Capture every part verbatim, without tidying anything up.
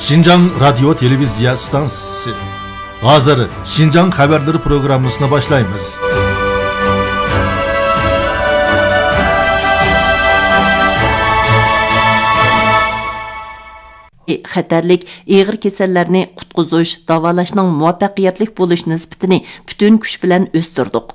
شىنجاڭ رادىيو تېلېۋىزىيە ئىستانسىسى. ھازىر شىنجاڭ خەۋەرلىرى پروگراممىسىنى باشلايمىز. خەتەرلىك ئېغىر كېسەللەرنى قۇتقۇزۇش، داۋالاشنىڭ مۇۋەپپەقىيەتلىك بولۇش نىسبىتىنى پۈتۈن كۈچ بىلەن ئۆستۈردۇق.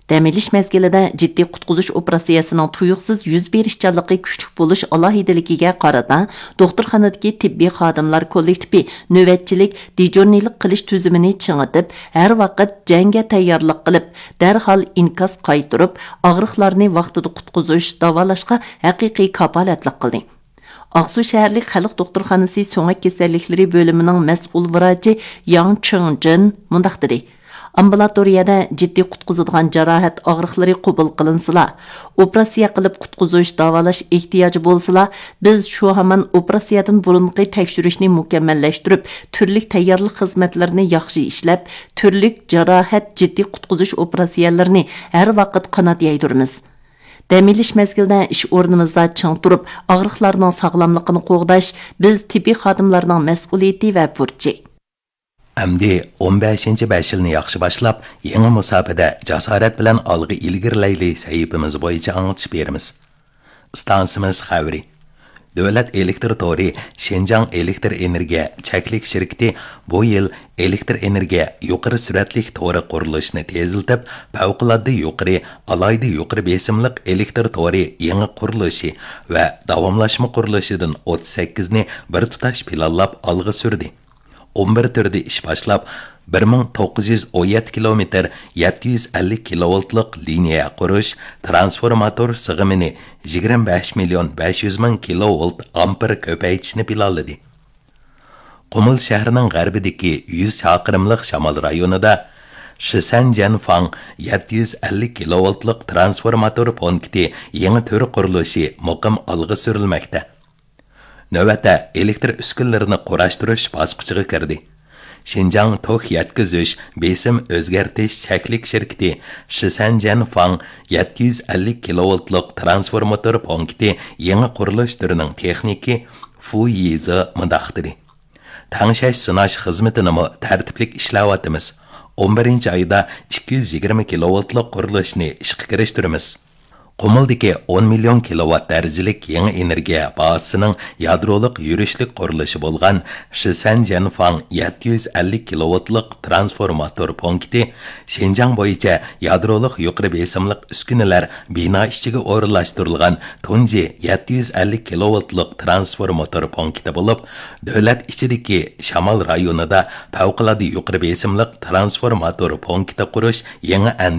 دەم ئېلىش مەزگىلىدە جىددىي قۇتقۇزۇش ئوپېراتسىيەسىنىڭ تۇيۇقسىز يۈز بېرىشچانلىقى كۈچلۈك بولۇش ئالاھىدىلىكىگە قارىتا، دوختۇرخانىدىكى تېببىي خادىملار كوللېكتىپى نۆۋەتچىلىك، دېجورنىيلىق قىلىش تۈزۈمىنى چىڭىتىپ، ھەر ۋاقىت جەڭگە تەييارلىق قىلىپ، دەرھال ئىنكاس قايتۇرۇپ، ئاغرىقلارنى ۋاقتىدا قۇتقۇزۇش، داۋالاشقا ھەقىقىي كاپالەتلىك قىلدى. ئاقسۇ شەھەرلىك خەلق دوختۇرخانىسى سۆڭەك كېسەللىكلىرى بۆلۈمىنىڭ مەسئۇل ۋراچى ياڭ چىڭجىن مۇنداق دېدى: ئامبۇلاتورىيەدە جىددىي قۇتقۇزىدىغان جاراھەت ئاغرىقلىرى قوبۇل قىلىنسىلا، ئوپېراتسىيە قىلىپ قۇتقۇزۇش، داۋالاش ئېھتىياجى بولسىلا، بىز شۇ ھامان ئوپېراتسىيەدىن بۇرۇنقى تەكشۈرۈشنى مۇكەممەللەشتۈرۈپ، تۈرلۈك تەييارلىق خىزمەتلىرىنى ياخشى ئىشلەپ، تۈرلۈك جاراھەت، جىددىي قۇتقۇزۇش ئوپېراتسىيەلىرىنى ھەر ۋاقىت قانات يايدۇرىمىز. دەم ئېلىش مەزگىلىدە ئىش ئورنىمىزدا چىڭ تۇرۇپ، ئاغرىقلارنىڭ ساغلاملىقىنى قوغداش بىز تېببىي خادىملارنىڭ مەسئۇلىيىتى ۋە بۇرچى. ئەمدى ئون بەشىنچى بەش يىلنى ياخشى باشلاپ، يېڭى مۇساپىدە جاسارەت بىلەن ئالغا ئىلگىرىلەيلى سەھىپىمىز بويىچە ئاڭلىتىش بېرىمىز. ئىستانسىمىز خەۋىرى. دۆلەت ئېلېكتر تورى شىنجاڭ ئېلېكتر ئېنېرگىيە چەكلىك شىركىتى بۇ يىل ئېلېكتر ئېنېرگىيە يۇقىرى سۈرئەتلىك تورى قۇرۇلۇشىنى تېزلىتىپ، پەۋقۇلئاددە يۇقىرى، ئالاھىدە يۇقىرى بېسىملىق ئېلېكتر تورى يېڭى قۇرۇلۇشى ۋە داۋاملاشما قۇرۇلۇشىدىن ئوتتۇز سەككىزنى بىر تۇتاش پىلانلاپ ئالغا سۈردى. ئون بىر تۈردە ئىش باشلاپ، بىر مىڭ توققۇز يۈز ئون يەتتە كىلومېتىر يەتتە يۈز ئەللىك كىلوۋولتلۇق لىنىيە قۇرۇش، ترانسفورماتور سىغىمىنى يىگىرمە بەش مىليون بەش يۈز مىڭ كىلوۋولت ئامپېر كۆپەيتىشنى پىلانلىدى. قۇمۇل شەھىرىنىڭ غەربىدىكى يۈز چاقىرىملىق شامال رايونىدا شىسەن جيەنفاڭ يەتتە يۈز ئەللىك كىلوۋولتلۇق ترانسفورماتور پونكىتى يېڭى تۈر قۇرۇلۇشى مۇقىم ئالغا سۈرۈلمەكتە. نۆۋەتتە ئېلېكتر ئۈسكۈنىلىرىنى قۇراشتۇرۇش باسقۇچىغا كىردى. شىنجاڭ توك يەتكۈزۈش، بېسىم ئۆزگەرتىش چەكلىك شىركىتى شىسەن جيەنفاڭ يەتتە يۈز ئەللىك كىلوۋولتلۇق ترانسفورماتور پونكىتى يېڭى قۇرۇلۇش تۈرىنىڭ تېخنىكى فۇ يىزې مۇنداق دېدى: تەڭشەش سىناش خىزمىتىنىمۇ تەرتىپلىك ئىشلەۋاتىمىز. ئون بىرىنچى ئايدا ئىككى يۈز يىگىرمە كىلوۋولتلۇق قۇرۇلۇشنى ئىشقا كىرىشتۈرىمىز. قۇمۇلدىكى ئون مىليون كىلوۋات دەرىجىلىك يېڭى ئېنېرگىيە بازىسىنىڭ يادرولۇق يۈرۈشلۈك قۇرۇلۇشى بولغان شىسەن جيەنفاڭ يەتتە يۈز ئەللىك كىلوۋولتلۇق ترانسفورماتور پونكىتى شىنجاڭ بويىچە يادرولۇق يۇقىرى بېسىملىق ئۈسكۈنىلەر بىنا ئىچىگە ئورۇنلاشتۇرۇلغان تۇنجى يەتتە يۈز ئەللىك كىلوۋولتلۇق ترانسفورماتور پونكىتى بولۇپ، دۆلەت ئىچىدىكى شامال رايونىدا پەۋقۇلئاددە يۇقىرى بېسىملىق ترانسفورماتور پونكىتى قۇرۇش يېڭى ئەندىزە.